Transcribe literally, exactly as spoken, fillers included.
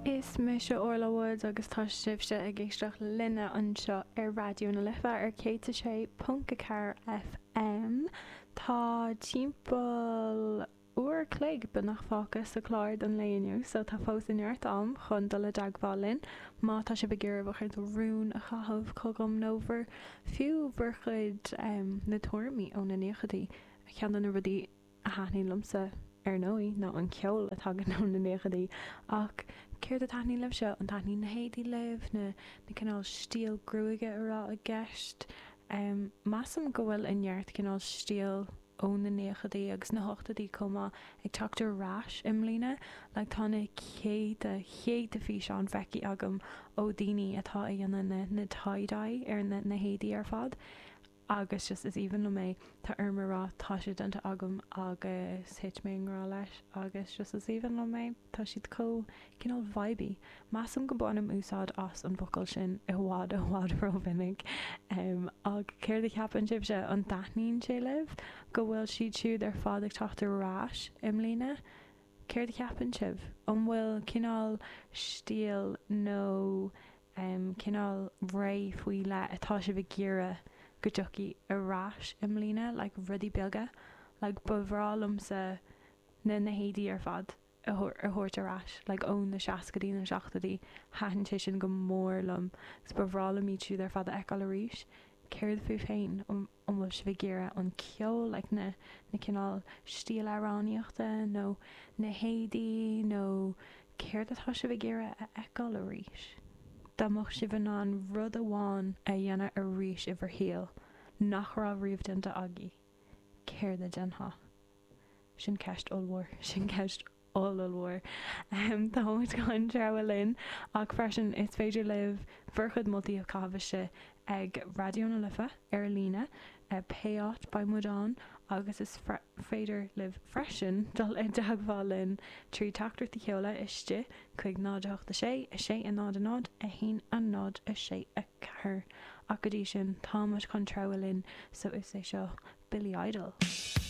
Is mise Orla Woods agus tá sibhse ag éisteacht linne anseo ar Raidió na Life ar céad a sé ponc a ceathair FM. Tá timpeall uair chloig beagnach fágtha sa chlár don lae inniu, so tá fós neart am chun dul i dteagmháil linn. Má tá sibh ag iarraidh bhur chuid rún a chaitheamh chugam nó bhur fiú bhur chuid um, na tuairimí ó na naochadaí ceann de na rudaí a thaitníonn liomsa ar ndóigh ná an ceol atá ó na naochadaí ach céard a thaitníonn libhse an dtaitníonn na héadaí libh na na cineál stíl gruaige a raibh i gceist. Um, Measaim go bhfuil an neart cineál stíl ó na naochadaí agus na hochtóidí chomh maith ag teacht ar ais i mbliana, le tá na céadta céadta físeán feicthe agam ó daoine atá ag déanamh na, na tie-dye ar na, na héadaí ar fad. agus just is aoibhinn liom é tá orm a rá tá sé déanta agam agus thit mé i ngrá leis agus just is aoibhinn liom é tá siad chomh cineál vibey. Measaim go mbainim úsáid as an bhfocal sin i bhfad i bhfad rómhinic um, ach céard a cheapann sibhse an dtaitníonn sé libh go bhfuil siad siúd ar fad ag teacht ar ais i mbliana. Céard a cheapann sibh an bhfuil cineál stíl nó um, cineál ré faoi leith atá sibh ag iarraidh go dtiocfaidh ar ais i mbliana like rudaí beaga like ba bhreá liomsa na na héadaí ar fad a thabhairt ar ais like ó na seascaidí na seachtóidí thaitin sé sin go mór liom agus ba bhreá liom iad siúd ar fad a fheiceáil arís céard fúibh féin an bhfuil sibh ag iarraidh an ceol like na na cineál stíl amhránaíochta nó na héadaí nó céard atá sibh ag iarraidh a fheiceáil arís. Dá mbeadh sibh in ann rud amháin a dhéanamh arís i bhur shaol nach raibh riamh déanta agaibh, céard a dhéanfá? Sin ceist ollmhór, sin ceist ollmhór. Um, Tá muid chun treabhadh linn ach freisin is féidir libh bhur chuid moltaí a chaitheamh istigh ag Raidió na Life ar líne pé áit beidh muid ann agus is féidir libh freisin dul i dteagmháil linn trí teachtaireacht a sheoladh istigh chuig náid a hocht a sé a sé a náid a náid a haon a náid a sé a ceathair ach go dtí sin táimid chun treabhadh linn so is é seo Billy Idol.